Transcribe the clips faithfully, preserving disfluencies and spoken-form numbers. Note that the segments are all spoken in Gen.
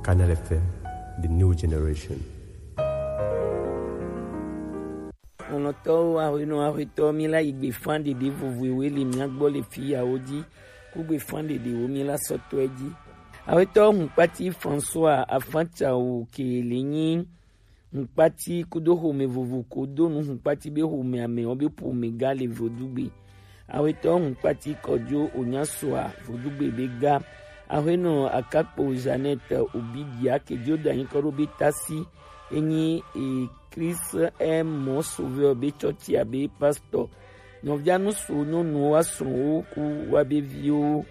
Canal F M, the new generation. Lɔlɔ̃tɔwo, ahuenɔ, ahuetɔ, mi la yi gbe fan ɖeɖe vovovoe le mia gbɔ le fiyawo dzi. Kugbe fan ɖeɖewo mi la sɔtɔe dzi. Ahuetɔ Hunkpati François Afancawo ke le nyi Hunkpati kudo xome vovo ko do nu Hunkpati be xome amewo be ƒome ga le Vodugbe. Ahuetɔ Hunkpati Kɔjo Onyasoa Vodugbe be ga. Ahuenɔ Akakpo Jeannette Obidia ke dzo da nyikɔ ɖo be tasi. Enyi e Christ est mon sauveur be tsɔtsi abe pastor. Nɔvia nusu nyɔnuwo asrɔ̃wo ku wa be viwo.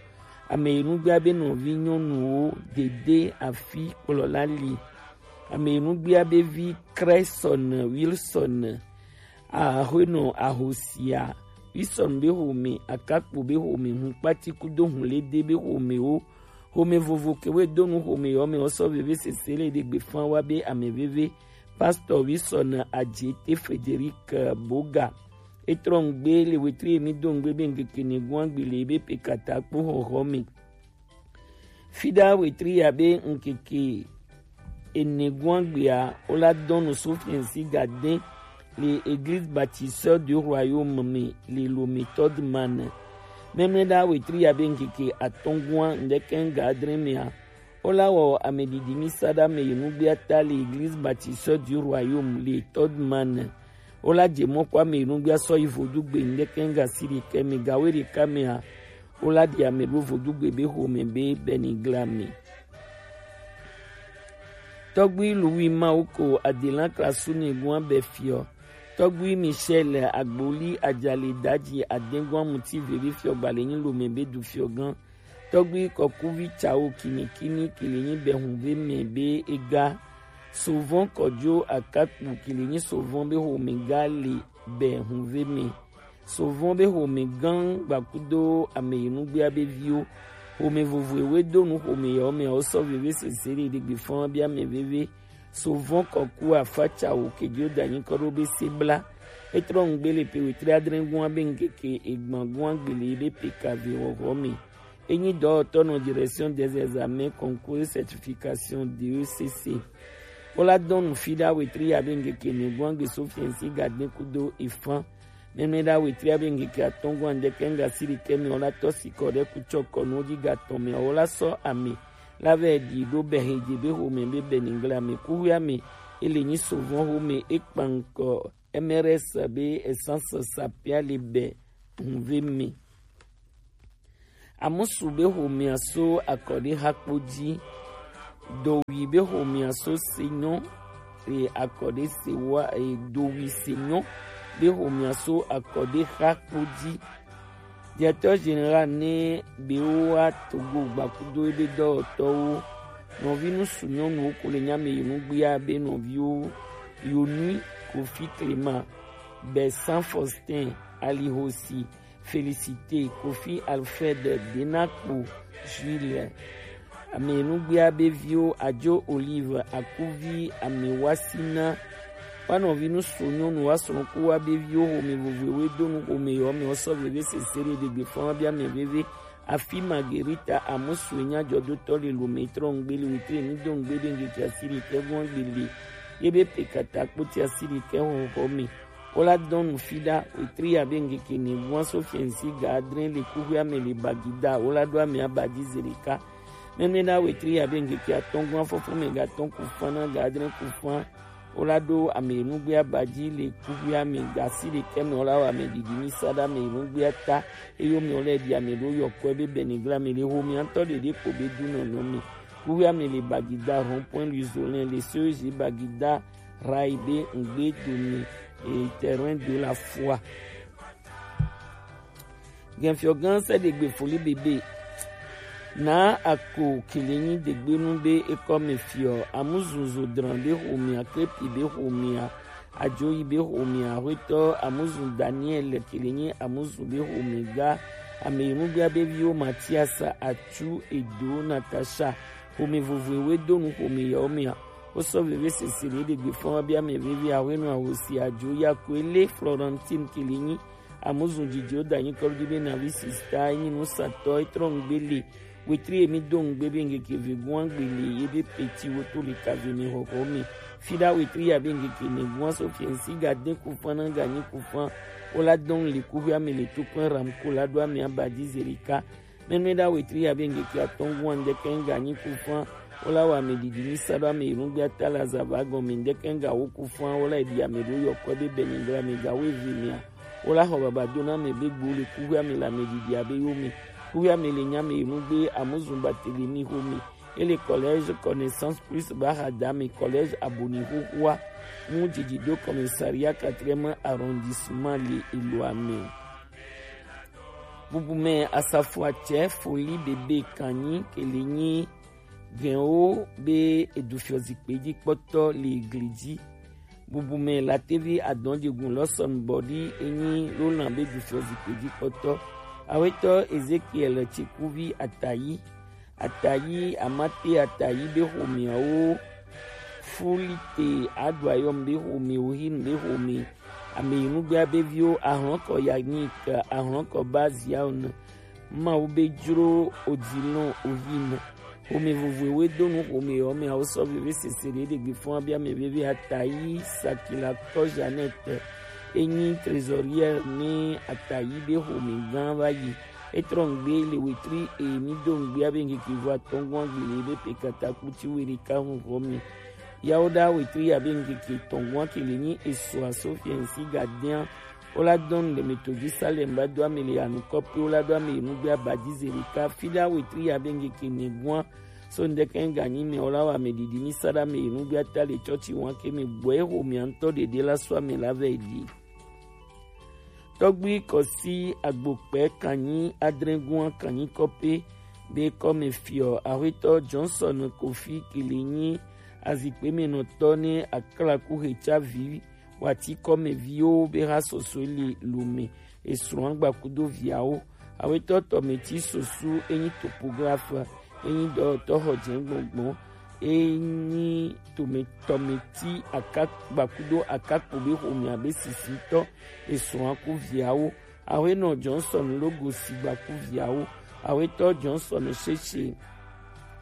Ame yi nugbea be nɔvi nyɔnuwo dede afi kplɔla li. Ame yi nugbea be vi Cresson Wilson, ahuenɔ ahosia Wilson be xome, Akakpo be xome, Hunkpati kudo Hunlede be xomewo. Xome vovo ke we do nu xome yɔ me wosɔ veve sese le ɖe gbe fan wa be ame veve. Pastor Wilson Adjete Frederic Boga. Etrɔ ŋgbe le wetri emi do ŋgbe be ŋkeke ne guan gbe le be pekata kpo xɔxɔ me. Fida wetri ya be ŋkeke ene guan gbea, wola dɔnu Sofiensi Gaden le Église Bâtisseur du Royaume me le Lomé Todman. Mɛmlɛ da wetri ya be ŋkeke atɔn guan ŋdɛkɛn ga adre mea, wola wɔ amedidi mi sa da me yi nugbea ta le Église Bâtisseur du Royaume le Todman. Wola je mɔ kɔ ame yi nugbea sɔ yi Vodugbe ŋdɛkɛn ga si ɖekɛ me ga we ɖeka mea, wola ɖi ame ɖo Vodugbe be xome be Beniglame. Tɔgbui Louis Mawoko Adelan Krasu ne guan bɛ fiɔ. Tɔgbui Michel Agboli Ajale Daji Adenguan Muti Veve fiɔ gbalɛ nyi Lomé be du fiɔ gan. Tɔgbui Kɔkuvi Tsawo Kinikini kele nyi bɛ hunve me be ega. Sovɔn Kɔjo Akakpu kele nyi Sovɔn be xome ga le bɛ hunve me. Sovɔn be xome gan gbakudo ame yi nugbea be viwo. Xome vovoe we do nu xome yawo me awo sɔ veve sese ɖe ɖe gbe fɔn bia me veve. Sovɔn Kɔku Afatsa wo kejo da nyikɔ ɖo be se bla. Etrɔ ŋgbe le pe wetri adre gua be ŋkeke egban gua gbele be pe kave xɔxɔ me. Enyi dɔwɔtɔ nɔ Direction des Examens, Concours et Certification, D E C C. Wola dɔn nu fi ɖa wetri ya be ŋkeke ne gua gbe so fiɛnsi ga de kudo efan. Nɛnɛ ɖa wetri ya be ŋkeke atɔn gua ŋdɛkɛ ŋga si ɖekɛ me wola tɔ si kɔ ɖe kutsɔ kɔnu ji ga tɔn me wola sɔ ame la vɛ ɖi ɖo bɛ he dze be xome be bɛ ningla me kuxia me ele nyi sovɔn xome ekpan kɔ M R S be essence sapia le bɛ hunve me. Amusu be xomea so akɔɖexakpo ji. Dowi be xomea so senyɔ e akɔɖe sewa e dowi senyɔ be xomea so akɔɖexakpo ji. Directeur général ne be wa Togo gbakudo ebe dɔwɔtɔwo nɔvi nusu nyɔnuwo ko le nyame yi nugbia be nɔviwo Yonui Kofi Clément, Bersan Faustin, Alihosi, Félicité, Kofi Alfred, Denakpo Jules, Amenugbia be viwo Ajo Olive, Akuvi, Amewasina, wa nɔvi nusu nyɔnu wa srɔ̃ ku wa be viwo xome vovoe do nu xome yɔ me wosɔ veve sese ɖe ɖegbe fɔn wa be ame veve. Afi Margarita Amusu enya jɔdotɔ le lome trɔ ŋgbe le wetri enu do ŋgbe be ŋgeke asi ɖekɛ vɔn gbele ye be pe kata kpoti asi ɖekɛ xɔxɔ me. Wola dɔn nu fi ɖa wetri ya be ŋkeke ne gua so fiɛnsi ga adre le kuxuia me le Bagida. Wola ɖo ame aba dzi ze ɖeka. Mɛmɛ ɖa wetri ya be ŋkeke atɔn gua fɔfɔ me ga tɔn ku fan na ga adre ku fan. Wola ɖo ame nugbe aba dzi le kuxuia me ga si ɖekɛ me wola wɔ ame didi mi sa ɖa ame nugbe ata. Eyo me wola ɖi ame ɖo yɔkɔe be Benigla me le ho mi ŋutɔ ɖeɖe ko be du nɔnɔ me. Kuxuia me le Bagida rond-point Luzolin le Sozi Bagida Rai be ŋgbe dome e terrain de la foi. Gɛnfiɔgã sɛ ɖegbe foli bebe. Na ako kele nyi degbenu be ekɔ me fiɔ Amuzu Zodran be xomea, Krepi be xomea, Ajoyi be xomea, Axwetɔ Amuzu Daniel kele nyi Amuzu be xome ga, ame yi nubia be viwo Matias, Atsu, Edo, Natasha, xome vovoe we do nu xome yawo mea. Wosɔ veve sese ɖe ɖegbe fɔn wa be ame veve Axwenu Ahosi Ajo ya ko ele Florentine kele nyi Amuzu dzidziwo da nyi kɔɖi be navi sista enyi nusatɔ etrɔ ŋgbe le Wetri emi do ngbe be ngeke vegun agbele ye be peti wo to le kave mi hoho mi. Fida wetri ya be ngeke negun aso fiensi ga den kufan na ga nyi kufan. Ola don le kuhwe ame le tukun ram kula do ame abadi zerika. Menue da wetri ya be ngeke atongun andeke nga nyi kufan. Ola wa me didi ni sado ame irungbe atala zava gon me ndeke nga wo kufan. Ola edi ame do yo kwe be beni ngra me ga we vi mi a. Ola ho baba do na me be gbo le kuhwe ame la me didi abe yo mi. Kuhwe ame le nya me irungbe amuzumba tele mi ho mi. Et le collège Connaissance Plus Bahada, mais collège Abonihuhua, mu didi do commissariat quatrième arrondissement le Eloame. Bubume asafo atsɛ foli bebe kanyi kele nyi gɛnwo be edufio zikpe dzi kpɔtɔ le gli dzi. Bubume latevi adɔnjegun lɔsɔn bɔdi enyi lolan be dufio zikpe dzi kpɔtɔ. Awetɔ Ezekiel Tsikuvi Atayi. Atayi, Amate Atayi be xomɛawo, Fulite Aduayɔm be xomɛ, Ohin be xomɛ, Ameyinugbe abe viwo, Ahlɔnkɔ Yanik, Ahlɔnkɔ Baziaon, Mawu be jro Odilon Ohin. Xomɛ vovoe we do nu xomɛ yɔ mɛ awo sɔ veve sese ɖe ɖegbe fɔn abia mɛ veve Atayi Sakila kɔ Jeannette enyi trésorière ni Atayi be xomɛ gã va yi. Etrɔ ŋgbe le wetri e mi do ŋgbe abe ŋkeke vo atɔngua gbele be pe kata kuti weri ka hɔn hɔ mi. Yawo da wetri abe ŋkeke tɔngua kele ni eso aso fiɛnsi gadɛn. Ola dɔn le me to Jerusalem ba do ame le anu kɔpe ola do ame enugbe abadi zeri ka fi da wetri abe ŋkeke ne gua. So ndeke ŋga nyi me ola wa me didi mi sa da me enugbe ata le tsɔtsi wan ke me gbɔ eho mi antɔ dede la so ame la vɛ di. Tɔgbui Kɔsi Agbokpɛ kanyi adrɛngun kanyi kɔpe be kɔme fiɔ Axwetɔ Johnson Kofi Kilinyi azikpemenɔtɔ ne aklaku hetsavi wati kɔmeviwo be ha sɔsɔe le lome esrɔ̃ gbakudo viawo. Awetɔ tɔmeti sosu enyi topographe, enyi dɔyɔtɔ xɔ jɛ gbɔngbɔn, enyi tome-, tɔmeti akagbakudo akakpo be xomea be sisitɔ esrɔ̃ aku viawo. Awenɔ Johnson Logosi gbaku viawo. Awetɔ Johnson Sheshe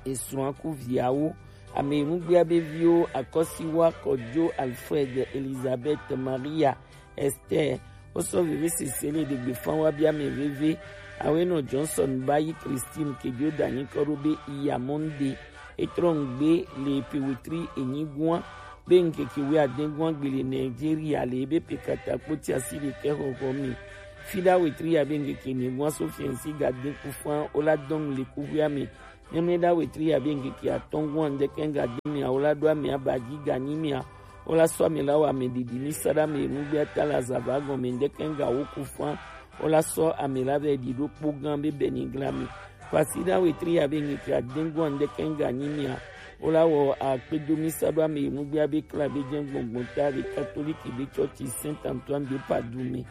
esrɔ̃ aku viawo. Ame enugbea be viwo Akɔsiwa Kɔjo Alfred Elizabeth Maria Esther, wosɔ veve sese le ɖegbe fan wa bia mɛ veve. Awenɔ Johnson bayi Christine kejo danyi kɔ ɖo be iya Monday. Etrɔ ŋgbe le pe wetri enyigua be ŋkeke wui adengua gbe le Nigeria le ebe pe kata kpoti asi ɖekɛ xɔxɔ mi. Fida wetri ya be ŋkeke enyigua so fiɛnsi ga den kufan ola dɔn le kuhwea mi. Nyɔnu ɖa wetri ya be ŋkeke atɔngua ŋdɛkɛ ŋga di mia, wola ɖo amea ba dzi ga nyi mia, wola sɔ ame la wa ame ɖiɖi mi sa ɖe ame nugbe ata le azava gɔme ŋdɛkɛ ŋga wo ku fã, wola sɔ ame la vɛ ɖi ɖo kpo gã be bɛ ni gla mi. Kwasi ɖa wetri ya be ŋkeke adengua ŋdɛkɛ ŋga nyi mia, wola wɔ akpedo mi sa ɖo ame nugbe abe kla be jɛ gbɔngbɔn ta be katoliki be tsɔtsi Saint Antoine de Padoue me.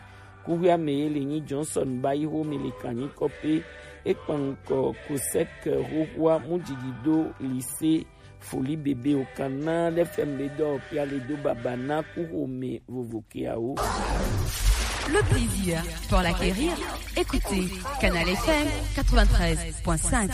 Kuhwea me ye le nyi Johnson ba yi ho me le kanyi kɔpe. Ekpan ŋkɔ Kosek xoxoa mu didi do lycée Foli bebe o kan na ɖe fɛm be dɔ pia le do baba na ku ho me vovo keawo. Le plaisir pour l'acquérir, écoutez Canal F M quatre-vingt-treize point cinq.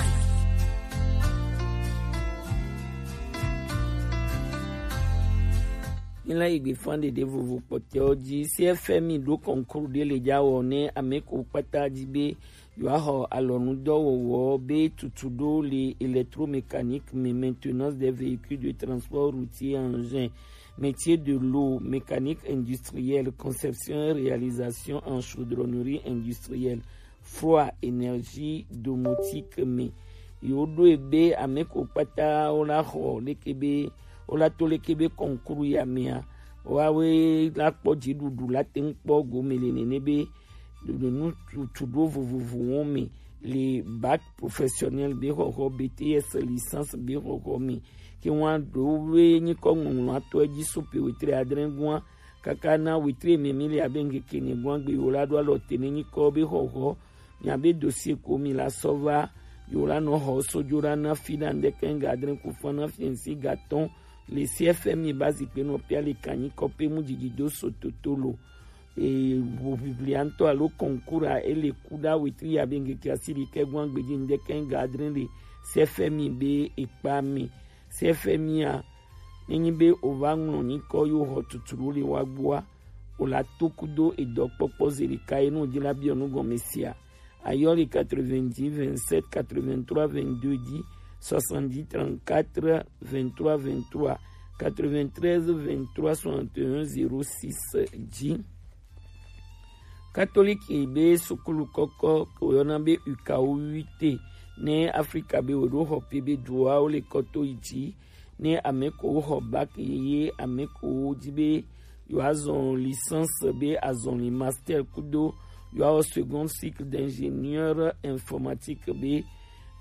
Ni la yi gbe fan ɖeɖe vovo kpɔtɛwo dzi. C F M I ɖo concours ɖe le dza wɔ ne ame ko kpata dzi be yewoaxɔ alɔnudɔwɔwɔ be tutu ɖo le électromécanique me, maintenance des véhicules de transport routier et engins, métier de l'eau, mécanique industrielle, conception et réalisation en chaudronnerie industrielle, froid, énergie domotique me. Yewoɖoe be ame ko kpata wola xɔ leke be, wola to leke be concours ya mea, woawoe la kpɔ dziɖuɖu la te ŋu kpɔ gome le nene be ɖoɖo nu tutu ɖo vovovowo me le bac professionnel be xɔxɔ, B T S licence be xɔxɔ me. Ke ŋua ɖo be nyikɔ ŋɔŋlɔ atɔ edzi so pe wetri adre gua kaka na wetri me mi le abe ŋkeke ne gua gbe yewo la ɖo alɔ te ne nyikɔ be xɔxɔ. Miabe dossier ko mi la sɔ va yewo la nɔ xɔ sojo la na fi na ŋdɛkɛ ŋga adre ku fã na fiɛnsi gatɔn le C F M I ba zikpe nɔ pia le kanyi kɔpe mu didi do so toto lo. e, vovivi ŋutɔ alo concours a, ele ku ɖa wetri ya be ŋkeke asiɖekɛ gɔn agbeji ŋdɛkɛ ga adre le C F M I be ekpa mi. C F M I a, nenyi be o va ŋlɔ nyikɔ yo xɔ tutu ɖo le wa gbɔa, o la to kudo edɔkpɔkpɔ ze ɖeka ye no di la biɔ nu gɔme sia. Ayɔ le quatre-vingt-dix vingt-sept quatre-vingt-trois vingt-deux dix, soixante-dix trente-quatre vingt-trois vingt-trois, quatre-vingt-treize vingt-trois soixante et un zéro six dix. Katoliki be sukulu kɔkɔ ke woyɔna be U K O huit ne Afrika be woɖo xɔ pe be duawo le kɔto yi dzi ne ame ko xɔ bac yeye, ame ko di be yewoazɔ licence be azɔli master kudo yewoawɔ second cycle d'ingénieur informatique be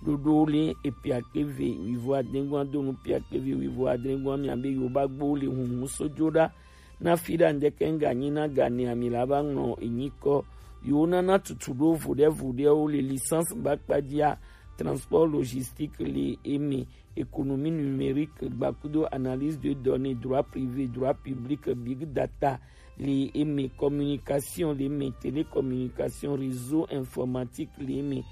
ɖoɖo le epiakpe ve wivo adengua do nu piakpe ve wivo adengua mia be yewo ba gbo le hunhun sojo ɖa na fi ɖa ŋdɛkɛ ŋganyi na gane ami la ba ŋlɔ enyikɔ yewo nana tutu ɖo vuɖe vuɖewo le licence ba kpajia transport logistique le eme économie numérique gbakudo analyse de données, droit privé, droit public, big data, le eme communication, le eme télécommunication, réseau informatique, le eme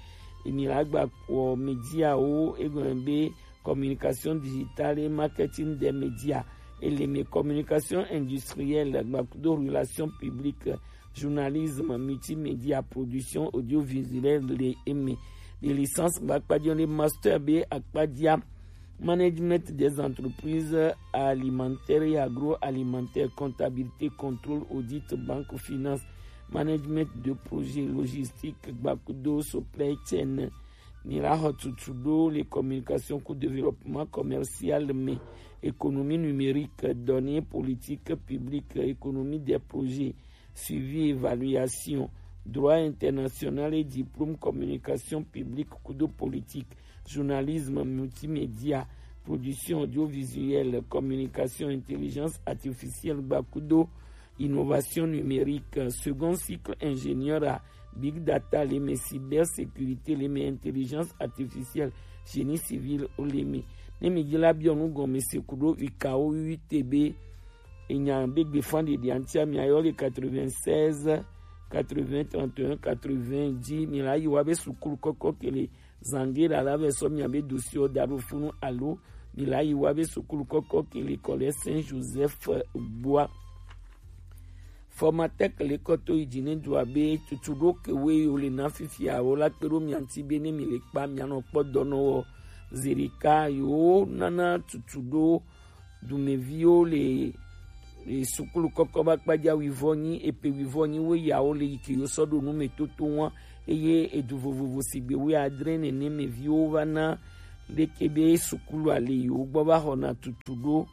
emi la gba kɔ média wo egɔn be communication digitale et marketing des médias, et le eme communication industrielle gbakudo relation publique, journalisme, multimédia, production audiovisuelle, le eme de licence ba kpajia le master be akpajia management des entreprises alimentaires et agroalimentaires, comptabilité, contrôle, audit, banque, finance, management de projet, logistique, gbakudo supply chain. Mi la xɔ tutu ɖo le communication ku développement commercial me, économie numérique, données, politique publique, économie des projets, suivi, évaluation, droit international et diplôme communication publique kudo politique, journalisme, multimédia, production audiovisuelle, communication, intelligence artificielle gbakudo innovation numérique, second cycle ingénieur a big data le eme, cybersécurité le eme, intelligence artificielle, génie civil o le eme. Ne mi di la biɔ nu gɔme se kudo U K O huit be enya be gbe fan ɖeɖi antia mi ayɔ le quatre-vingt-seize quatre-vingts trente et un quatre-vingts dzi mi la yi wa be sukulu kɔkɔ ke le zange la la vɛ sɔ mia be dossier da ɖo funu alo mi la yi wa be sukulu kɔkɔ ke le kɔ le Saint Joseph gbɔa. Formatec le kɔto yi dzi ne dua be tutu ɖo ke we yo le na fifia wo la kpe ɖo mia ŋuti be ne mi le kpa mia nɔ kpɔ dɔnɔ wɔ zerika yo nana tutu ɖo dumeviwo le, le sukulu kɔkɔ ba kpadza wivɔ nyi epe wivɔ nyi wo yawo le yi ke yo sɔ ɖo nu me toto wa eye edu vovovo sigbe wo adre nene me viwo va na leke be sukulu ale yi wo gbɔ va xɔna tutu ɖo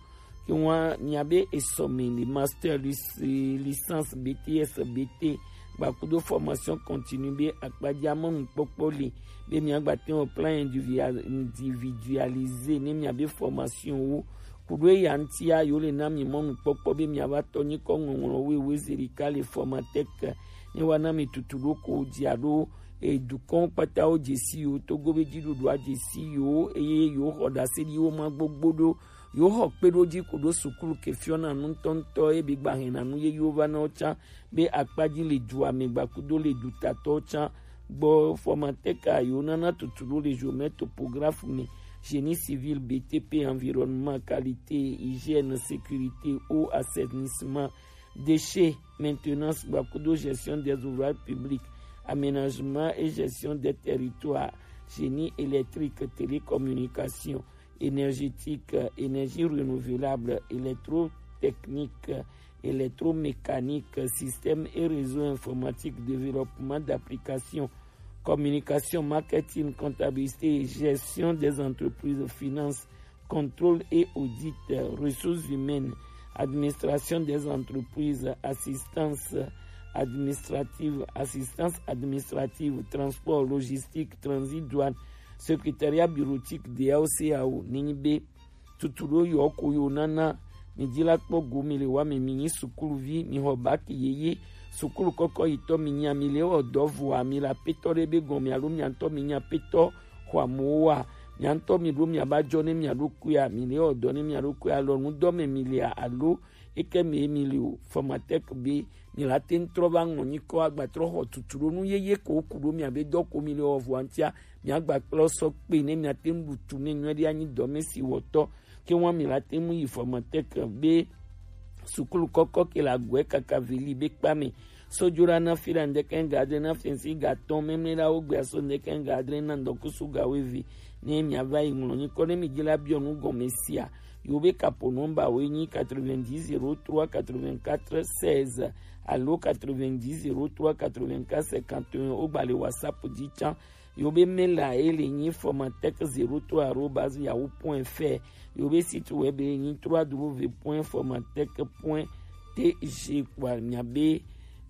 ke wa mia be esɔme le master lis-, licence B T S B T gbakudo formation continue be akpadza mɔnukpɔkpɔ le be mia gba te wɔ plan individual-, individualisé ne mia be formation wo kuɖo eya ŋutia yewo le na mi mɔnukpɔkpɔ be miava tɔ nyikɔ ŋɔŋlɔ wewe zerika le Formatec ne wa na mi tutu ɖo ko dzia ɖo edukɔn kpata wo dzesi yo togo be dziɖuɖua dzesi yo eye yo xɔ ɖase ɖi wo ma gbogbo ɖo yo xɔ kpe ɖo dzi ko ɖo sukulu ke fiɔna nu ŋutɔŋutɔ ebe gba hɛna nu ye yo va na wo tsã be akpadzi le dua me gbakudo le dutatɔwo tsã gbɔ Formatec a yo nana tutu ɖo le géomètre topographe me, génie civil, B T P, environnement, qualité, hygiène, sécurité, eau, assainissement, déchets, maintenance gbakudo gestion des ouvrages publics, aménagement et gestion des territoires, génie électrique, télécommunication, énergétique, énergie renouvelable, électrotechnique, électromécanique, système et réseau informatique, développement d'applications, communication, marketing, comptabilité et gestion des entreprises, finance, contrôle et audit, ressources humaines, administration des entreprises, assistance administrative, assistance administrative, transport, logistique, transit, douane, secrétariat bureautique, D A O, C A O, nenyi be tutu ɖo yɔ ko yo nana mi dzi la kpɔ go mi le wa mi mi nyi sukuluvi mi xɔ baki yeye sukulu kɔkɔ yi tɔ mi nya mi le wɔ dɔ vɔa mi la petɔ ɖe be gɔn mi alo mi ŋutɔ mi nya petɔ xɔ amewo wa Mia ŋutɔ mi ɖo mia ba jɔ ne mia ɖokuia, mi le wɔ dɔ ne mia ɖokuia, alɔ nu dɔ me mi lia alo eke me mi li o. Formatec be mi la te ŋu trɔ va ŋlɔ nyikɔ agba trɔ xɔ tutu ɖo nu yeye ko ku ɖo mia be dɔ ko mi le wɔ vɔa ŋutia, mia gba kplɔ sɔ kpe ne mia te ŋu ɖu tu ne nyuie ɖe anyi dɔ me si wɔtɔ. Ke wa mi la te ŋu yi Formatec be sukulu kɔkɔ ke la gɔe kaka veli be kpa me. Sojola na fi la ndeke ga adre na fi si ga tɔn memle la wo gbe aso ndeke ga adre na ndɔkusu ga wevi. Ne mia va yi ŋlɔ nyikɔ ne mi dzi la biɔ nu gɔme sia. Yo be kapo nɔmba wo nyi quatre-vingt-dix zéro trois quatre-vingt-quatre seize alo quatre-vingt-dix zéro trois quatre-vingt-quatre cinquante et un, wo gba le WhatsApp dzi can. Yo be mail a e le nyi formatec zéro trois arobase yahoo point fr. Yo be site web e nyi trois w point formatec point t g. Kpoa mia be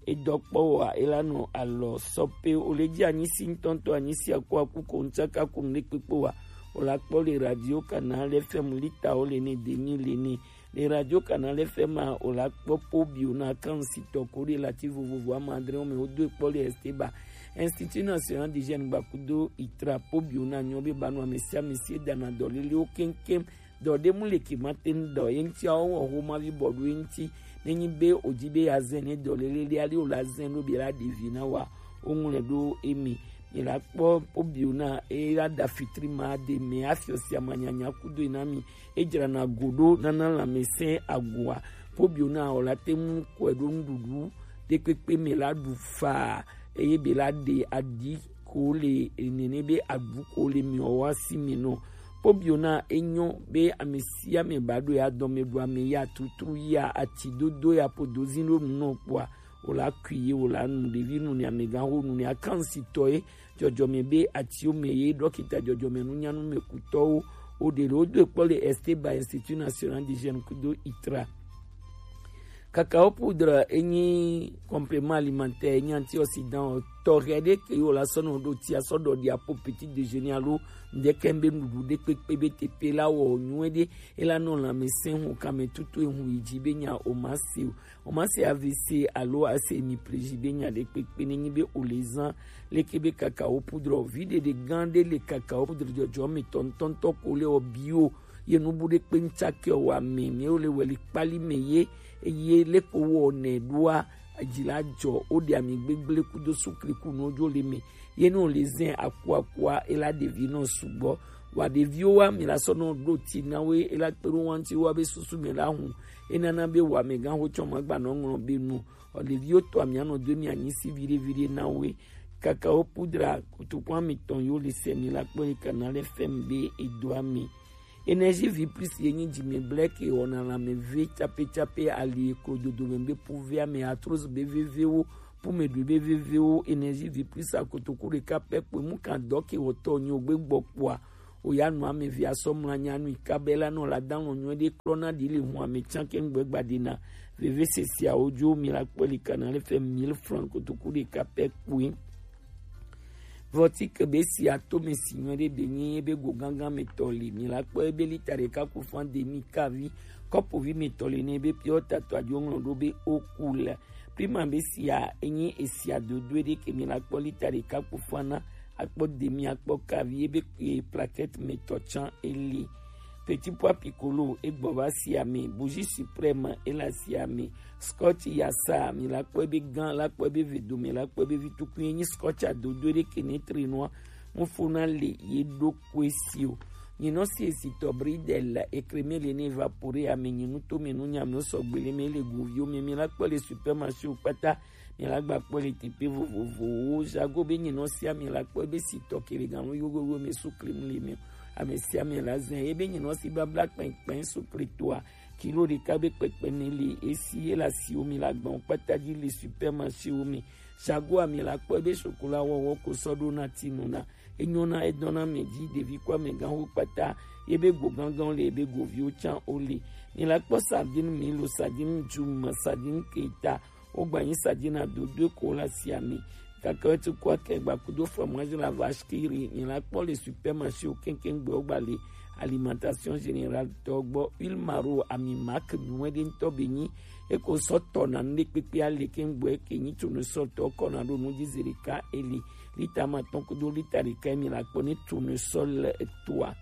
edɔ kpɔ wa e la nɔ alɔ sɔ pe o le dzi anyi si ŋutɔŋutɔ anyi si aku aku ko ŋtsaka ko ŋɖe kpekpe wa. O la kpɔ le radio Canal F M lita o le ne demi le ne. Le radio Canal F M a, o la kpɔ Pobio na kan si tɔ ko de la ti vovovo ama adre o me o do kpɔ le Esteba. Institut National des Jeunes gbakudo itra Pobio na nyɔ be ba nu ame sia ame si e dana dɔ lele o keŋkeŋ. Dɔ de mu le ke ma te ŋu dɔ ye ŋuti a o wɔ ho ma vi bɔ do ye ŋuti. Ne nyi be o dzi be ya zɛn ne dɔ lele le ali o la zɛn do be la de vi na wa o ŋlɛ do emi. Mi la kpɔ Pobio na e la da fitri ma de me afiɔ sia ma nyanya kudo na mi. E dzrana go ɖo nana lãmesẽ agɔa. Pobio na o la te ŋu kɔe ɖo nuɖuɖu ɖekpekpe me la ɖu faa, eye be la ɖe aɖi ko le nene be aɖu ko le miɔ wa si me nɔ. Pobio na e nyɔ be ame sia ame ba ɖo ya dɔ me ɖu ame ya tutru ya ati dodo ya podo zi ɖo nu nɔ kpɔa. O la kui ye o la nu ɖevi nu ne amegã ho nu ne akansi tɔ ye. Dzɔdzɔme be atiwo me ye dɔkita dzɔdzɔme nunyanu me kutɔwo o ɖe le wo do kpɔ le Esteba Institut National des Jeunes kudo itra. Cacao poudre enyi complément alimentaire, enyi antioxydant tɔxɛ ɖe ke yo la sɔ nɔ ɖo tia sɔ ɖɔ ɖi apo petit déjeuner alo ŋdɛkɛ be nuɖuɖu ɖe kpekpe be tepe la wɔ nyuie ɖe e la nɔ lãmesẽ hu kame tutu ehu yi dzi be nya o ma se o. O ma se A V C alo a se mi pleji be nya ɖe kpekpe ne nyi be o le zan leke be cacao poudre o. Vi ɖeɖe gã ɖe le cacao poudre dzɔdzɔ me tɔntɔntɔ ko le o bio ye nubu ɖe kpe ŋtsake o wa me mi o le weli kpali me ye eye leko wɔ ne ɖoa dzi la dzɔ o ɖe ami gbegble kudo sukli ku no dzo le me. Ye ne o le zɛn aku akua e la ɖevi nɔ sugbɔ. Wa ɖeviwo wa mi la sɔ nɔ ɖo ti na we e la kpe ɖo wanti wa be susu me la hu. E nana be wa me gan ho tsɔ ma gba nɔ ŋlɔ be nu. O ɖeviwo tɔ mi anɔ do mi anyi si viɖe viɖe na we. Cacao poudre kutuku ami tɔn yo le se mi la kpɔ le Canal F M be e do ami. Énergie vie plus ye nyi dzi me blɛ ke wɔna lãme ve tsape tsape ali eklo dodo me be puve ame arthrose be vevewo pume ɖui be vevewo. Énergie vie plus akotoku ɖeka pɛ kpoe mu kan dɔ ke wɔtɔ nyi o gbe gbɔ kpoa o ya nu ame ve asɔ mla nya nu ika be la nɔ la dan lɔ nyuie ɖe klɔ na ɖi le hun ame tsan ke ŋgbe gba ɖi na veve sesiawo dzo mi la kpɔ li Canal F M mille francs kotoku ɖeka pɛ kpoe. Vɔti ke be si ato me si nyuie ɖe be nyi ebe go gangan me tɔ li mi la kpɔ ebe lita ɖeka ku fan demi kavi kɔpovi me tɔ li ne ebe piɔ tatɔ adzo ŋlɔ ɖo be o ku le. Prima be sia enyi esia dodo ɖe ke mi la kpɔ lita ɖeka ku fan na akpɔ demi akpɔ kavi ebe e plaquette me tɔ tsan eli. Petit pois piccolo egbɔ va sia me, bougie suprême ela sia me, scotch yasa mi la kpɔ ebe gan la kpɔ ebe vedome la kpɔ ebe vitukun enyi scotch adodo ɖe ke ne tre nua mufona le ye ɖo koe si o. Nyinɔ si esi tɔ bridel ekreme le ne evapore ame nyinu to me nu nyame sɔgbe le me le goviwo me mi la kpɔ le supermarché o kpata. Mi la gba kpɔ le teƒe vovovowo. Jago be nyinɔ sia mi la kpɔ be si tɔ kele ganu yogoyo me su klim le me. Ame sia ame la zɛ ye be nyinɔ si babla kpɛnkpɛn su kli toa kilo ɖeka be kpɛkpɛ ne le esi ye la siwo mi la gbɔn kpata dzi le supermarché wo me. Jago ami la kpɔ be chocolat wɔwɔ ko sɔ ɖo na ti nu na. Enyo na edɔna me dzi ɖevi kɔ ame gã wo kpata ye be go gãgãwo le ye be goviwo tsã wo le. Mi la kpɔ sardine mi lo sardine djuma sardine keta. Wogba nyi sardine adodoe ko la sia mi. Kakaweti kɔ ke gba kudo fromage la vache qui rit mi la kpɔ le supermarché wo keŋkeŋ gbe wogba le alimentation générale tɔ gbɔ. Huile maro ami marque nyuie ɖe ŋutɔ be nyi eko sɔ tɔ na nu ɖe kpekpe ale keŋ gbɔ eke nyi tournesol tɔ kɔ na ɖo nu dzi zi ɖeka eli lita ma tɔn kudo lita ɖeka mi la kpɔ ne tournesol toa.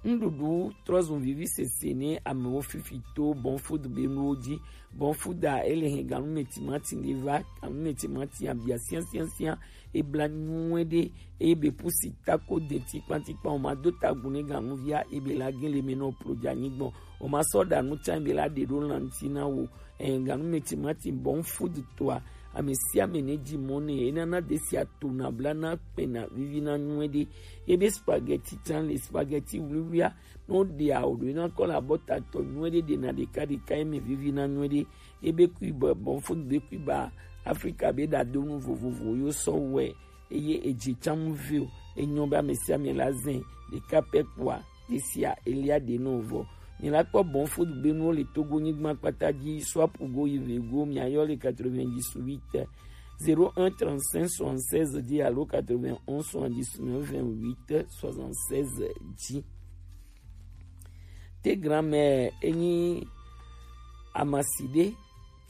Nuɖuɖu trɔzun vivi sese ne amewo fifi to Bon Food be nuwo ji. Bon Food a, ele hɛn ganumɛ timati ɖe va, ganumɛ timati abia siansiansian, ebla nyuie ɖe, eye be pusi tako de tikpatikpa, o ma do tagun ne ganuvia, ebe la gɛn le mɛ nɔ plo ja nyigbɔn, o ma sɔ ɖa nu can, ebe la ɖe ɖo lanti na wo. Ɛn, ganumɛ timati Bon Food toa, ame sia ame ne ji mɔ ne, enana desia tona bla na kpɛna vivi na nyuie ɖe. Ebe spaghetti can le, spaghetti wluiwluia, no ɖe awo ɖo ena kɔ la bɔ tatɔ nyuie ɖe, ɖena ɖeka ɖeka eme vivi na nyuie ɖe. Ebe kui bɔ Bon Food be kui ba Afrika be ɖadonu vovovo yo sɔ wɛ, eye edze can mu vio, enyɔ be ame sia ame la zɛn ɖeka pɛ kpoa, ɖe sia elia ɖe nɔ vɔ. Mi la kpɔ Bon Food be nuwo le Togo nyigba kpata ji, swapu go yi ve go, mi ayɔ le quatre-vingt-dix-huit zéro un trente-cinq soixante-seize dix alo quatre-vingt-onze soixante-dix-neuf vingt-huit soixante-seize dix. Te grand-mère enyi amasi ɖe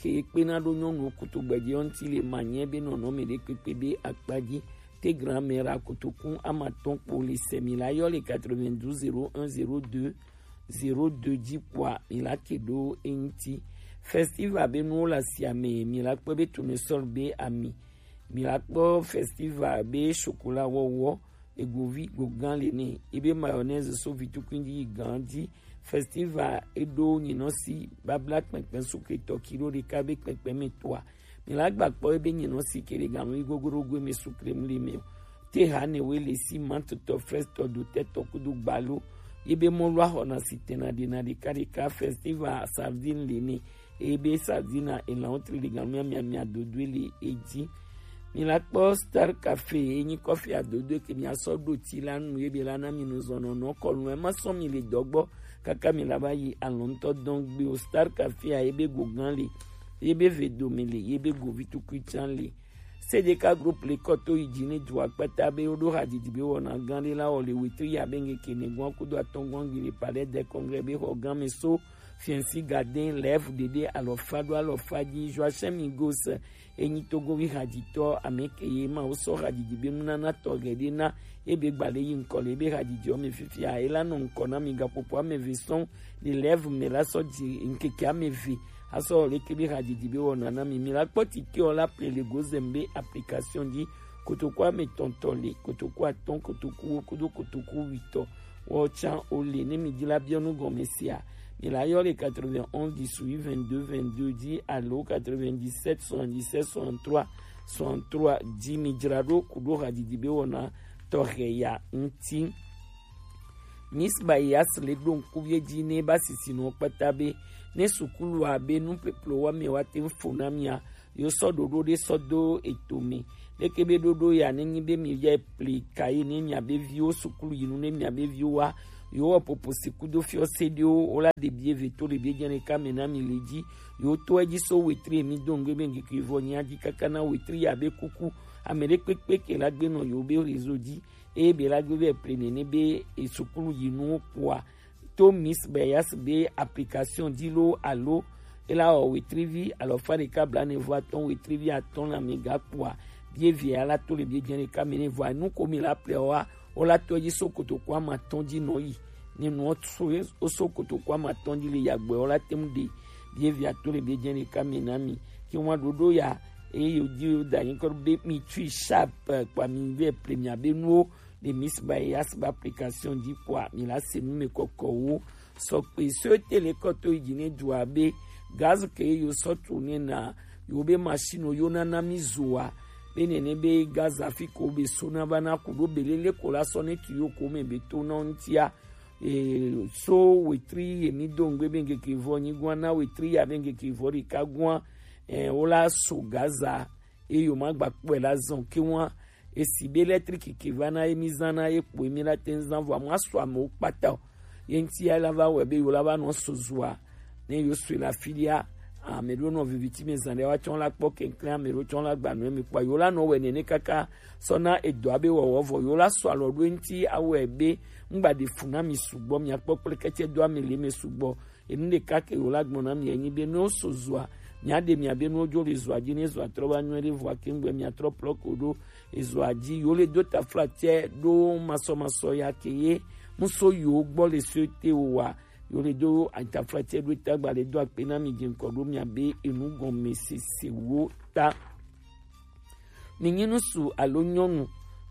ke kpena ɖo nyɔnuwo kutugbɛji ŋuti le manyɛ be nɔnɔme ɖe kpekpe be akpa ji. Te grand-mère akotokun amatɔn kpo le sɛ, mi la yɔ le quatre-vingt-douze zéro un zéro deux zéro deux ji kpoa, mi la ke ɖo eŋuti. Festival be nuwo le asia me, mi la kpɔ be tournesol be ami, mi la kpɔ festival be chocolat wɔwɔ, egovi gogan le nɛ, ebe mayonnaise so vitukuin ji yi gan ji. Festival eɖo nyinɔsi babla kpɛnkpɛn sukre tɔ kilo ɖeka be kpɛnkpɛn me toa, mi la gba kpɔ ebe nyinɔsi ke le ganu yi gogoro go me sukre mu le me o. Te ha ne we le si mantotɔ, frɛstɔ, dotɛtɔ kudo gbalo. Ebe mɔlu ahɔna si tena ɖena ɖeka ɖeka. Festival sardine le nɛ, ebe sardine elan wotri le ganu miamia dodo le eji. Mi la kpɔ Star Cafe, enyi kɔfi adodo ke mi asɔ ɖo ti la nu, ebe la na mi nu zɔnɔ nɔ kɔnu e ma sɔ mi le dɔgbɔ kaka mi la ba yi alɔntɔ dɔn gbe o. Star Cafe a, ebe gogan le, ebe vedome le, ebe govitukui can le. Sedeka Group le kɔ to yi ji ne dua kpata be wo ɖo hadzidzi be wɔna gan ɖe la wɔ le wetri ya be ŋkeke ne gɔn kudo atɔngɔn gi le Palais des Congrès be xɔ gan me so Fiɛnsi Gadɛn, Lɛvu Ɖeɖe, Alɔfa ɖo alɔfa ji, Joachim Migos, enyi Togovi hadzitɔ, ame ke ye ma wo sɔ hadzidzi be nunana tɔxɛ ɖe na, ebe gba le yi ŋkɔ le ebe hadzidzi ɔ me fifia, ela nɔ ŋkɔ na mi gaƒoƒo ame eve sɔŋ le Lɛvu me la sɔ dzi ŋkeke ame eve asɔ leke be hadzidzi be wɔna na mi. Mi la kpɔ tike ɔ la ple le gozem be application ji, kotoku ame tɔntɔ le, kotoku atɔn, kotoku wo kudo kotoku witɔ. Wɔ can o le ne mi di la biɔ nu gɔme sia, mi la yɔ le quatre-vingt-onze dix-huit vingt-deux vingt-deux ji alo quatre-vingt-dix-sept soixante-dix-sept soixante-trois soixante-trois ji. Mi dzra ɖo kudo hadzidzi be wɔna tɔxɛ ya ŋuti. Miss Bayas le ɖo ŋkuvie ji ne ba sisi nɔ kpata be ne sukulu a be nu peplo wa me wa te fo na mia, yo sɔ ɖoɖo ɖe sɔ do eto me. Leke be ɖoɖo ya ne nyi be mi ya pli kayi ne mia be viwo sukulu yinu ne mia be viwo wa, yo wɔ popo si kudo fiɔ se ɖewo wo la ɖe bie ve to le bie jɛne ka me na mi le ji. Yo to eji so wetri mi do ŋgbe be ŋkeke vɔ nya ji kaka na wetri ya be kuku. Ame ɖe kpekpe ke la gbe nɔ yo be réseau ji, eye be la gbe vɛ ple nene be esukulu yinuwo kpoa, to Miss Bayas be application ji lo alo ela wɔ wetrivi alɔfa ɖeka blaene vɔ atɔn wetrivi atɔn na mi ga kpoa, bie via la to le bie jɛne ka me ne vɔ nu ko mi la ple wa, o la to ji so kotoku ama tɔn ji nɔ yi. Ne nɔ so, o so kotoku ama tɔn ji le yagbɛ, o la tem de bie via to le bie jɛne ka me na mi. Ke wa ɖoɖo ya, eye yo di yo da nyi kɔ be mi tui sharp, eh, kpa mi vɛ ple mi abe nuwo le Miss Bayas ba application ji kpoa, mi la se nu me kɔkɔ wo. Sɔ kpe so te le kɔ to yi ji ne dua be gaz ke yo sɔ tu ne na yo be machine yo na na mi zoa. Be nene be gaz afi ko be so na ba na kudo be lele ko la sɔ ne tu yo ko me be to na ŋtia. E, so wetri ye mi do ŋgbe be ŋkeke vɔ nyi gua na wetri ya be ŋkeke vɔ ɖeka gua. E, wo la so gaza, e yo ma gba kpɔe la zɔn ke wa. Esi be électrique ke va na ye mi zan na ye kpo ye mi la te ŋ zan vɔ, amu asu amewo kpata o. Ye ŋti ya la va wɛ be yo la va nɔ so zua. Ne yo sue la filia, ame ɖewo nɔ viviti me zan ɖe wa tsɔ la kpɔ keŋklɛ, ame ɖewo tsɔ la gba nɔ mi kpɔ. Yo la nɔ wɛ nene kaka sɔ na edɔa be wɔwɔ vɔ. Yo la sɔ alɔ ɖo eŋti awɛ be ŋgba ɖe fu na mi sugbɔ, mi akpɔ kple kɛtsɛ do ame le me sugbɔ. Enu ɖeka ke wo la gblɔ na mi enyi be ne wo so zua, mia ɖe mia be ne wo dzo le zua ji, ne zua trɔ va nyuie ɖe vɔa ke ŋgbe mia trɔ plɔ ko ɖo ezua ji. Yo le do taflatse ɖo masɔmasɔ ya ke ye muso yo gbɔ le so te o wa. Yo le do atafla tse do ta gba le do akpe na mi je nkɔ do mi abe enu gɔme sese wo ta. Mi nyi nusu alo nyɔnu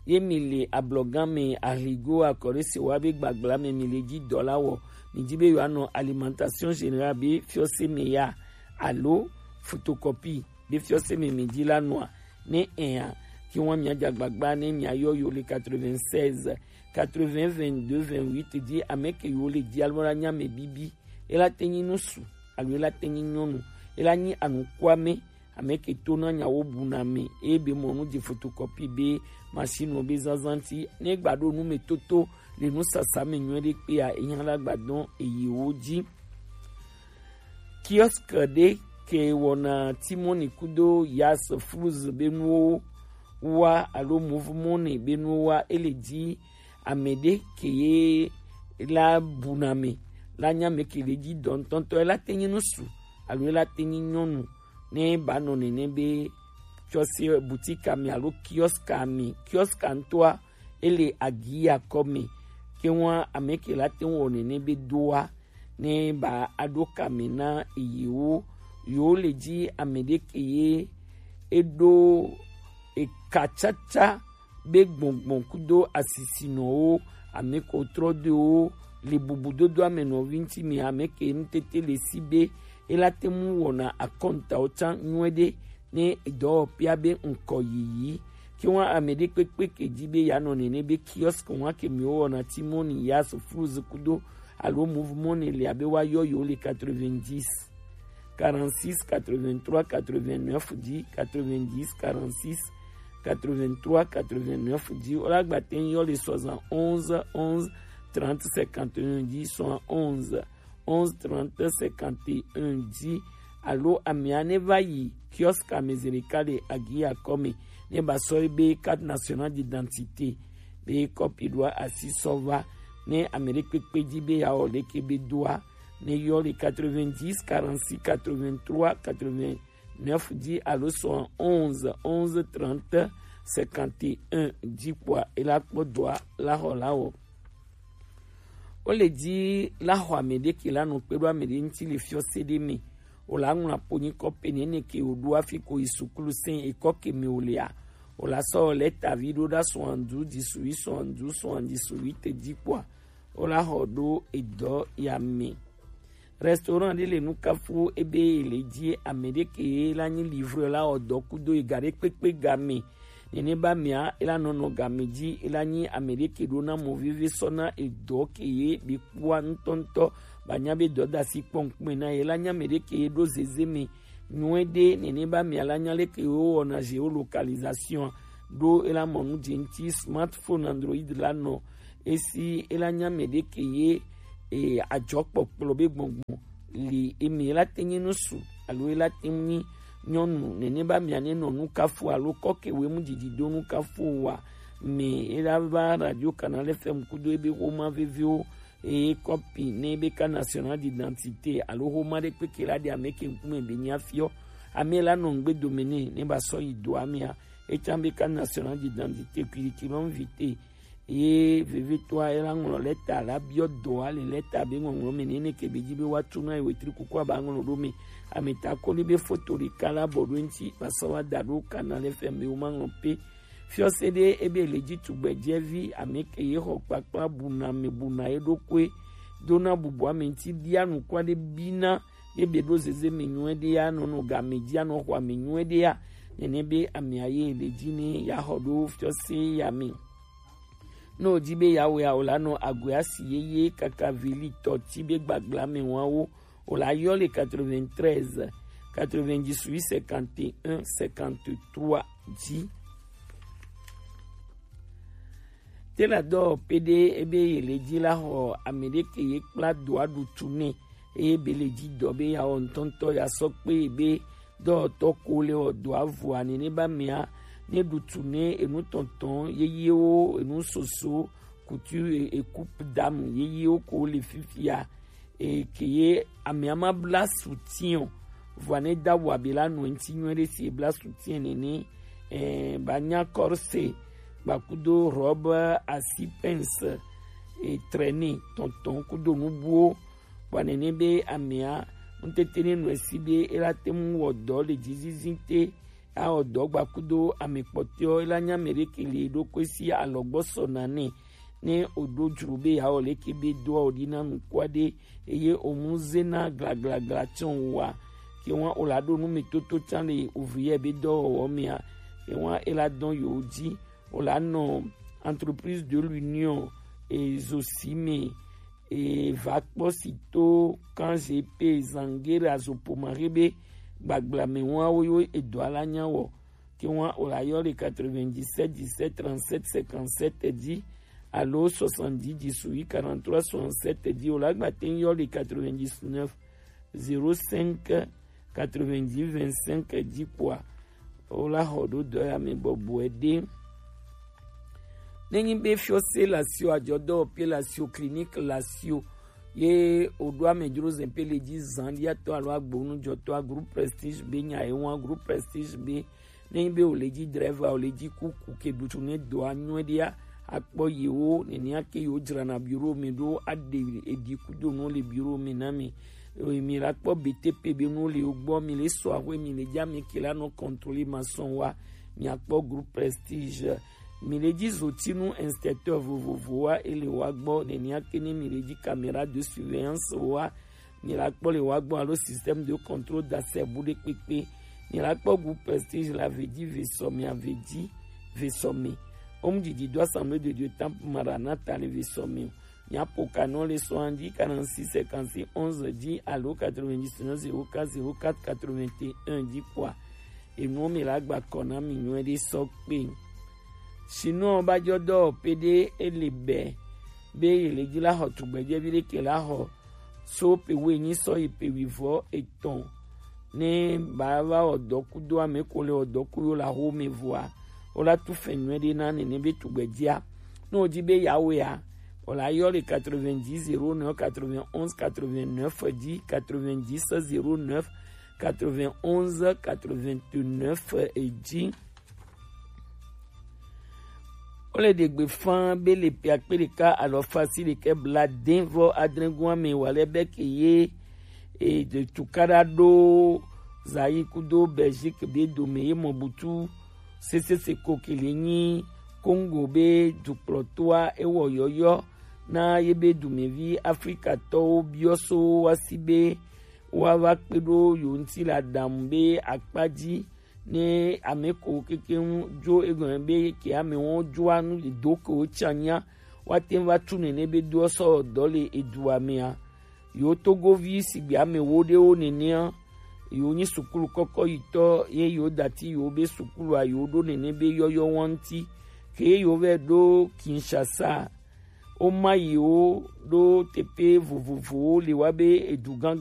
ye mi le ablɔgan me, ahligo, akɔɖe se wa be gbagbla me mi le ji dɔ la wɔ. Mi ji be yo anɔ alimentation générale be fiɔse me ya alo photocopie be fiɔse me mi ji la nɔa, ne ɛn a, ki wan mi aja gbagba ne mi ayɔ yo le quatre-vingt-seize, quatre-vingts, vingt-deux, vingt-huit ji ame ke yo le ji alo la nya me bibi. E la te nyi nusu alo e la te nyi nyɔnu, e la nyi anukwame, ame ke to na nyawo bu na me, e be mɔ nu je photocopie be machine be zanzan ti, ne gba do nu me toto le nu sasa me nyuie de kpe a, e nya la gba dɔn e yi wo ji. Kiosque ɖe ke wɔna Timoni kudo Yas Flus be nuwo wa alo Mouvement be nuwo wa, e le ji ame ɖe ke ye la bu na me, la nya me ke le ji dɔ ŋutɔŋutɔ, e la te nyi nusu alo e la te nyi nyɔnu, ne ba nɔ nene be fiɔse boutique me alo kiosque me, kiosque ŋutɔa, e le agi akɔ me, ke wan ame ke la te wɔ nene be doa, ne ba aɖo kame na yewo, yewo le ji ame ɖe ke ye eɖo ekatsatsa be gbɔngbɔn kudo asisinɔwo, ame ko trɔ do wo le bubudodo ame nɔvi ŋuti me, ame ke ŋutete le si be e la te mu wɔna akɔntawo tsã nyuie ɖe, ne dɔwɔƒea be ŋkɔ yiyi. Ke wan ame ɖe kpekpe ke ji be ya nɔ nene be kiosque wan ke mi wo wɔna Timoni, Yas, Flus kudo alo Mouvement le abe wa yɔ yo le quatre-vingt-dix, quarante-six, quatre-vingt-trois, quatre-vingt-neuf ji, quatre-vingt-dix, quarante-six, quatre-vingt-trois, quatre-vingt-neuf ji, o la gba te yɔ le soixante-onze, onze, trente, cinquante et un ji, soixante-onze, onze, trente, cinquante et un ji, alo amia ne va yi kiosque me zereka le agi akɔ me, ne ba sɔ be carte nationale d'identité be kɔpi ɖoa asi sɔ va, ne ame ɖe kpekpe ji be ya wɔ ɖeke be doa, ne yɔ le quatre-vingt-dix, quarante-six, quatre-vingt-trois, quatre-vingt-neuf ji alo soixante-onze, onze, trente, cinquante et un ji kpɔa, e la kpɔ dɔa la xɔ la wɔ. Wo le ji la xɔ ame ɖe ke la nɔ kpe ɖo ame ɖe ŋuti le fiɔse ɖe me. Wo la ŋlɔ apo nyi kɔ pe nene ke wo ɖo afi ko yi sukulu sɛn ekɔ ke me wo lea. Wo la sɔ lɛta vi ɖo ɖa soixante-douze dix-huit, soixante-douze soixante-dix-huit ji kpɔa, wo la xɔ ɖo edɔ ya me. Restaurant ɖe le nukafu ebe le ji ame ɖe ke la nyi livreur la wɔ dɔ kudo ega ɖe kpekpe game. Nene ba mia, e la nɔnɔ game ji, e la nyi ame ɖe ke ɖo na mɔ veve sɔ na edɔ ke ye be kpɔa ŋutɔŋutɔ, ba nya be dɔdasi kpɔnkpɔn na ye, la nya ame ɖe ke ye ɖo zeze me nyuie ɖe. Nene ba mia la nya le ke wo wɔna géolocalisation ɖo, e la mɔ nu je ŋuti smartphone Android la nɔ esi e la nya ame ɖe ke ye e, adzɔkpɔkplɔ be gbɔngbɔn li eme la te nyi nusu alo e la te nyi nyɔnu nene ba mia ne nɔ nukafu alo kɔke we mu didi do nukafu wa me e la va Radio Canal F M kudo ebe xoma veviwo eye kɔpi ne be carte nationale d'identité alo xoma ɖe kpeke la ɖe ame ke ŋkume be nya fiɔ ame la nɔ ŋgbe dome ne ne ba sɔ yi do amea etsã be carte nationale d'identité kuli ki lɔ invité. Ye vevitɔa e la ŋlɔ lɛta la biɔ dɔa le lɛta be ŋɔŋlɔ me nene ke be ji be wa tu na ye wetri kuku aba ŋlɔ ɖo me. Ameta koli be foto ɖeka la bɔ ɖo ŋuti ba sɔ wa da ɖo Canal F M be wo ma ŋlɔ pe. Fiɔse ɖe ebe le ji tugbɛ jɛvi ame ke ye xɔ kpakpla buna me buna ye ɖo koe. Do na bubu ame ŋuti bia nukua ɖe bi na ye be ɖo zeze me nyuie ɖe ya nɔ nɔ game ji anɔ xɔ ame nyuie ɖe ya. Nene be amea ye le ji ne ya xɔ ɖo fiɔse ya me. Ne wòdi be yeawɔe o la nɔ agoe asi yeye kaka vili tɔti be gbagblame wawo o la yɔ le quatre-vingt-treize, quatre-vingt-dix-huit, cinquante et un, cinquante-trois ji. Te la dɔ pe ɖe ebe ye le ji la xɔ ame ɖe ke ye kpla doa ɖutu nɛ eye be le ji dɔ be ya wɔ ŋutɔŋutɔ ya sɔ kpe be dɔwɔtɔ ko le wɔ dɔa vɔa nene ba mea ne ɖutu ne enu tɔntɔn yeyewo enu soso kutu e, e coupe dame yeyewo ko le fifia e, ke ye amea ma bla soutien o. Vɔa ne da wa be la nɔ ŋuti nyuie ɖe si e bla soutien nene e, ba nya corset gbakudo robe asi pince e, trɛne tɔntɔn kudo nubuwo. Bua nɛnɛ be amea, ŋtete ne nɔ esi be e la te ŋu wɔ dɔ le jizizi te, awɔ dɔ gba kudo ame kpɔtɔewo, e la nya mɛ ɖeke le ɖokui si alɔgbɔ sɔ na nɛ. Ne o ɖo jlo be yeawɔ leke be doa o ɖi na nukuaɖe, eye o mu zena glaglagla tsɔn wa, ke wa o la ɖo nu me toto tsan le ouvrier be dɔwɔwɔ mea, ke wa e la dɔn yo ji, o la nɔ Entreprise de l'Union e zo si me e va kpɔ si to kan G P Zangera zo pomare be gbagbla me wa wo yo e dɔ ala nya wɔ. Ke wa o la yɔ le quatre-vingt-dix-sept dix-sept trente-sept cinquante-sept ji, alo soixante-dix dix-huit quarante-trois soixante-sept ji, o la gba te yɔ le quatre-vingt-dix-neuf zéro cinq quatre-vingt-dix vingt-cinq ji kpoa, o la xɔ ɖo dɔ ya me bɔbɔe ɖe. Ne nyi be fiɔse lasio, ajɔdɔwɔƒe lasio, clinique lasio, ye o ɖo amedzro zɛn pe le ji zan ɖi atɔ alo agbonu jɔtɔ a groupe Prestige be nya ye wa groupe Prestige be ne nyi be o le ji driver, o le ji kuku ke ɖutu ne dɔ anyɔe ɖia, akpɔ yewo nenia ke yewo dzrana bureau me ɖo aɖe eɖi kudo nu le bureau me na mi. Eye mi la kpɔ B T P be nu le wo gbɔ, mi le sɔ axwe, mi le ja mi ke la nɔ contrôler maçon wa, mi akpɔ groupe Prestige. Mi le ji zotinu inspecteur vovovo wa, e le wa gbɔ, nenia ke ne mi le ji caméra de surveillance wa, mi la kpɔ le wa gbɔ alo système de contrôle d'accès bu ɖe kpekpe. Mi la kpɔ groupe Prestige la ve ji ve sɔ mi a ve ji ve sɔ mi. Omu didi do Assemblée de Dieu Temple Maranatha le ve sɔ mi. Nya pokanɔ le soixante-dix quarante-six cinquante-six onze ji alo quatre-vingt-dix-neuf zéro quatre zéro quatre quatre-vingt-un ji kpoa, enuwo mi la gba kɔ na mi nyuie ɖe sɔ kpe. Sinon ba jɔ dɔ pe ɖe e le bɛ be ye le ji la xɔ tugbedzɛvi ɖe ke la xɔ so pe wuienyi sɔ yi pe wuivɔ etɔn. Ne ba va wɔ dɔ kudo ame ko le wɔ dɔ ku yo la xo me vɔa, o la tu fɛn nyuie ɖe na nene be tugbedzɛa. Ne o ji be ya wea, o la yɔ le quatre-vingt-dix zéro neuf quatre-vingt-onze quatre-vingt-neuf ji, quatre-vingt-dix zéro neuf quatre-vingt-onze quatre-vingt-neuf ji. Wole ɖe gbe faa be le ƒe akpe ɖeka alafa asiɖekɛ blaade vɔ adre goa me wale be ke ye e de tukaɖa ɖo Zaire kudo Belgique be dome ye mɔ butu sesese ko ke le nyi Congo be dukplɔtoa ewɔ yɔyɔ na ye be dumevi Afrikatɔwo biɔ so wa si be woava kpe ɖo yewo ŋuti le aɖaŋu be akpa dzi ne ame ko kekeŋ dzo egɔme be ke amewo dzoa nu do ke wotsã nya, woate ŋu va tu nene be doɔ sɔ dɔ le edua mea. Yewo togovi sigbe ame wo ɖewo nenea, yewo nyi sukulu kɔkɔ yitɔ ye yewo dati yewo be sukulua yewo ɖo nene be yɔyɔ wa ŋuti. Ke ye yewo vɛ ɖo Kinshasa, woma yewo ɖo teƒe vovovowo le wa be edu gã